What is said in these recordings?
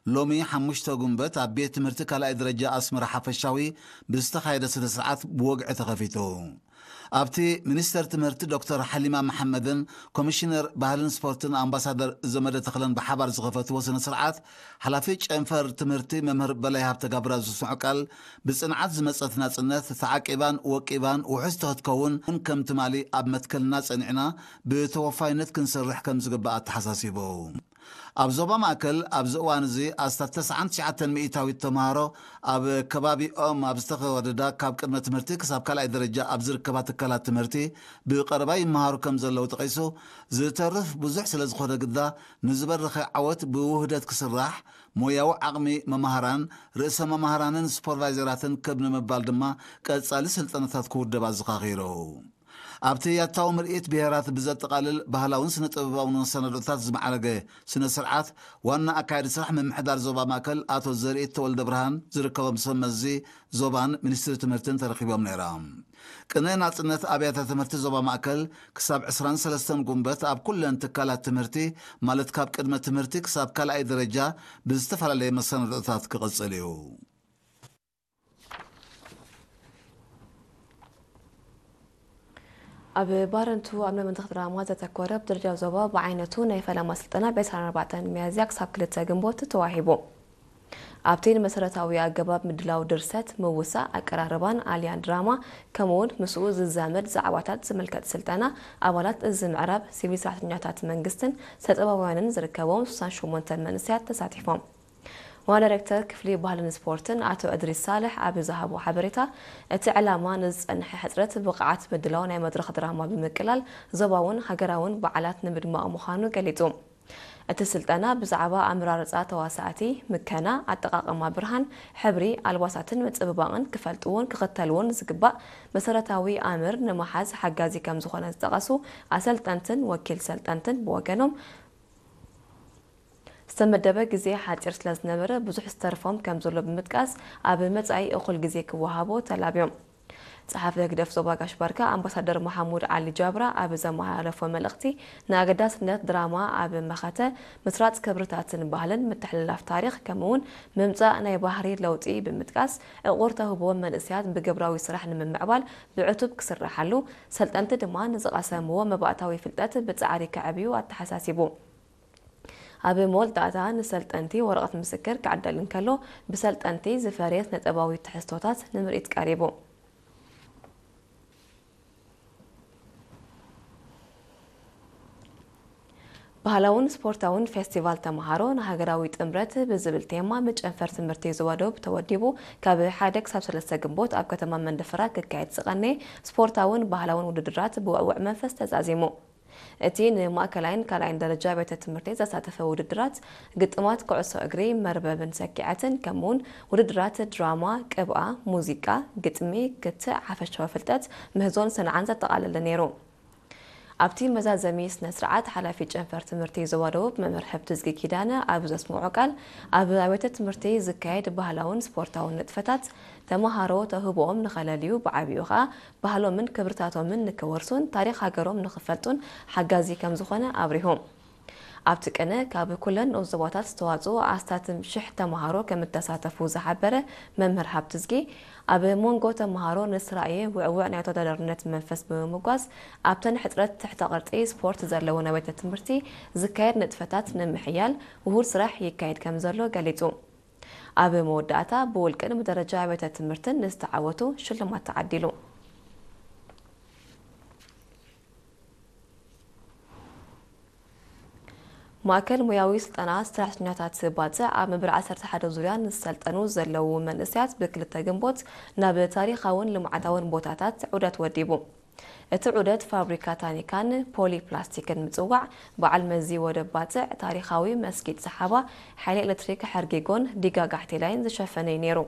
ሎሚ ሓሙሽተ ጉንበት ኣብ ቤት ትምህርቲ ካልኣይ ደረጃ ኣስመራ ሓፈሻዊ ብዝተኻየደ ስነ ስርዓት ብወግዒ ተኸፊቱ። ኣብቲ ሚኒስተር ትምህርቲ ዶክተር ሓሊማ መሓመድን ኮሚሽነር ባህልን ስፖርትን ኣምባሳደር ዘመደ ተኽለን ብሓባር ዝኸፈትዎ ስነ ስርዓት፣ ሓላፊ ጨንፈር ትምህርቲ መምህር በላይ ሃብተ ጋብራ ዝስምዖ ቃል፣ ብጽንዓት ዝመጸት ናጽነት ተዓቂባን ወቂባን ውሑስ ተኽትከውን ከም ትማሊ ኣብ መትከልና ጸኒዕና ብተወፋይነት ክንሰርሕ ከም ዝግባእ ኣተሓሳሲቡ። ኣብ ዞባ ማእከል ኣብዚ እዋን እዚ ኣስታት ተስዓን ትሽዓተን ሚእታዊት ተምሃሮ ኣብ ከባቢኦም ኣብ ዝተኸወደዳ ካብ ቅድመ ትምህርቲ ክሳብ ካልኣይ ደረጃ ኣብ ዝርከባ ትካላት ትምህርቲ ብቐረባ ይመሃሩ ከም ዘለዉ ጠቒሱ፣ ዝተርፍ ብዙሕ ስለ ዝኾነ ግዳ ንዝበረኸ ዓወት ብውህደት ክስራሕ፣ ሞያዊ ዓቕሚ መማህራን፣ ርእሰ መማህራንን ሱፐርቫይዘራትን ክብ ንምባል ድማ ቀጻሊ ስልጠናታት ክውደብ ኣዘኻኺሩ። ኣብቲ ያታዊ ምርኢት ብሄራት ብዘጠቓልል ባህላውን ስነ ጥበባውን መሰናዶታት ዝማዕረገ ስነ ስርዓት፣ ዋና ኣካያዲ ስራሕ ምምሕዳር ዞባ ማእከል ኣቶ ዘርኢት ተወልደ ብርሃን ዝርከቦም ሰብ መዚ ዞባን ሚኒስትሪ ትምህርትን ተረኺቦም ነይሮም። ቅነ ናጽነት ኣብያተ ትምህርቲ ዞባ ማእከል ክሳብ ዕስራን ሰለስተን ጉንበት ኣብ ኩለን ትካላት ትምህርቲ፣ ማለት ካብ ቅድመ ትምህርቲ ክሳብ ካልኣይ ደረጃ ብዝተፈላለየ መሰናዶታት ክቕጽል እዩ። ኣብ ባረንቱ ኣብ ናይ መድረኽ ድራማ ዘተኮረ ብደረጃ ዞባ ብዓይነቱ ናይ ፈለማ ስልጠና ብ ዕስራን ኣርባዕተን ሚያዝያ ክሳብ ክልተ ግንቦት ተዋሂቡ። ኣብቲ ንመሰረታዊ ኣገባብ ምድላው ድርሰት፣ ምውሳእ፣ ኣቀራርባን ኣልያን ድራማ፣ ከምኡውን ምስኡ ዝዛመድ ዛዕባታት ዝምልከት ስልጠና፣ ኣባላት እዚ ምዕራብ ሲቪል ሰራሕተኛታት መንግስትን ሰጠባውያንን ዝርከቦም ስሳን ሸሞንተን መንእሰያት ተሳቲፎም። ዋና ዳይሬክተር ክፍሊ ባህልን ስፖርትን ኣቶ እድሪስ ሳልሕ ኣብ ዝሃቦ ሓበሬታ፣ እቲ ዕላማ ንዝጸንሐ ሕጽረት ብቕዓት ምድላው ናይ መድረኽ ድራማ ብምቅላል ዞባውን ሃገራውን በዓላት ንምድማቕ ምዃኑ ገሊጹ። እቲ ስልጠና ብዛዕባ ኣመራርጻ ተዋሳእቲ፣ ምከና፣ ኣጠቓቕማ ብርሃን፣ ሕብሪ፣ ኣልባሳትን ምጽብባቕን ክፈልጥዎን ክኽተልዎን ዝግባእ መሰረታዊ ኣምር ንምሓዝ ሓጋዚ ከም ዝኾነ ዝጠቐሱ ኣሰልጠንትን ወኪል ሰልጠንትን ብወገኖም፣ ዝተመደበ ግዜ ሓጺር ስለ ዝነበረ ብዙሕ ዝተርፎም ከም ዘሎ ብምጥቃስ፣ ኣብ መጻኢ እኹል ግዜ ክወሃቦ ተላብዮም። ጸሓፊ ህግደፍ ዞባ ጋሽ ባርካ ኣምባሳደር መሓሙድ ዓሊ ጃብራ ኣብ ዘመሓላለፎ መልእኽቲ፣ ንኣገዳስነት ድራማ ኣብ መኸተ ምስራጽ ክብርታትን ባህልን ምትሕልላፍ ታሪኽ ከምኡውን ምምጻእ ናይ ባህሪ ለውጢ ብምጥቃስ፣ ዕቑር ተውህቦ መንእሰያት ብግብራዊ ስራሕ ንምምዕባል ብዕቱብ ክስረሓሉ፣ ሰልጠንቲ ድማ ንዝቐሰምዎ መባእታዊ ፍልጠት ብጻዕሪ ከዕብዩ ኣተሓሳሲቡ። ኣብ መወዳእታ ንሰልጠንቲ ወረቐት ምስክር ክዕደል እንከሎ፣ ብሰልጠንቲ ዝፈረየ ስነጥበባዊ ትሕዝቶታት ንምርኢት ቀሪቡ። ባህላውን ስፖርታውን ፌስቲቫል ተምሃሮ ንሃገራዊ ጥምረት ብዝብል ቴማ መጨንፈር ትምህርቲ ዞባ ደቡብ ተወዲቡ ካብ ሓደ ክሳብ ሰለስተ ግንቦት ኣብ ከተማ መንደፈራ ክካየድ ዝቐነየ ስፖርታውን ባህላውን ውድድራት ብውዕውዕ መንፈስ ተዛዚሙ። እቲ ንማእከላይን ካልኣይን ደረጃ ቤተ ትምህርቲ ዘሳተፈ ውድድራት፣ ግጥማት ኩዕሶ እግሪ፣ መርበብን ሰኪዐትን፣ ከምኡውን ውድድራት ድራማ፣ ቅብኣ፣ ሙዚቃ፣ ግጥሚ፣ ክትዕ፣ ሓፈሻዊ ፍልጠት፣ ምህዞን ሰንዓን ዘጠቓለለ ነይሩ። ኣብቲ መዛዘሚ ስነ ስርዓት፣ ሓላፊ ጨንፈር ትምህርቲ ዞባ ደቡብ መምህር ሕብትዝጊ ኪዳነ ኣብ ዘስምዖ ቃል፣ ኣብ ኣብያተ ትምህርቲ ዝካየድ ባህላውን ስፖርታውን ንጥፈታት፣ ተመሃሮ ተውህቦኦም ንኸለልዩ፣ ብዓቢኡ ኸኣ ባህሎምን ክብርታቶምን ንክወርሱን ታሪኽ ሃገሮም ንኽፈልጡን ሓጋዚ ከም ዝኾነ ኣብሪሁ። ኣብቲ ቅነ ካብ ኩለን ንኡስ ዞባታት ዝተዋጽኡ ኣስታት ሽሕ ተመሃሮ ከም እተሳተፉ ዝሓበረ መምህር ሃብትዝጊ፣ ኣብ መንጎ ተመሃሮ ንዝተራእየ ውዕውዕ ናይ ተወዳዳርነት መንፈስ ብምምጓስ፣ ኣብተን ሕጽረት ትሕተ ቅርጺ ስፖርት ዘለወን ኣብያተ ትምህርቲ ዝካየድ ንጥፈታት ንምሕያል ውሁድ ስራሕ ይካየድ ከም ዘሎ ገሊጹ። ኣብ መወዳእታ ብውልቅን ብደረጃ ኣብያተ ትምህርትን ንዝተዓወቱ ሽልማት ተዓዲሉ። ማእከል ሞያዊ ስልጠና ሰራሕተኛታት ባጽዕ ኣብ መበል ዓሰርተ ሓደ ዙርያ ንዝሰልጠኑ ዘለዉ መንእሰያት ብክልተ ግንቦት ናብ ታሪኻውን ልምዓታውን ቦታታት ዑደት ወዲቡ። እቲ ዑደት ፋብሪካ ታኒካን ፖሊ ፕላስቲክን ምጽዋዕ፣ በዓል መዚ ወደብ ባጽዕ፣ ታሪኻዊ መስጊድ ሰሓባ፣ ሓይሊ ኤሌክትሪክ ሕርጊጎን ዲጋ ጋሕቴላይን ዝሸፈነ እዩ ነይሩ።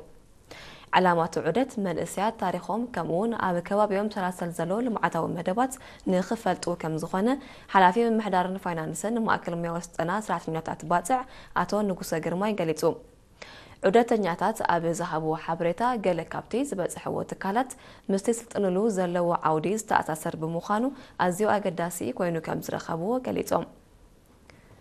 ዕላማ እቲ ዑደት መንእሰያት ታሪኾም ከምኡውን ኣብ ከባቢኦም ሰላሰል ዘሎ ልምዓታዊ መደባት ንኽፈልጡ ከም ዝኾነ ሓላፊ ምምሕዳርን ፋይናንስን ማእከል ሞያዊ ስልጠና ሰራሕተኛታት ባጽዕ ኣቶ ንጉሰ ግርማይ ገሊጹ። ዑደተኛታት ኣብ ዝሃብዎ ሓበሬታ፣ ገለ ካብቲ ዝበጽሕዎ ትካላት ምስቲ ዝስልጥንሉ ዘለዎ ዓውዲ ዝተኣሳሰር ብምዃኑ ኣዝዩ ኣገዳሲ ኮይኑ ከም ዝረኸብዎ ገሊጾም።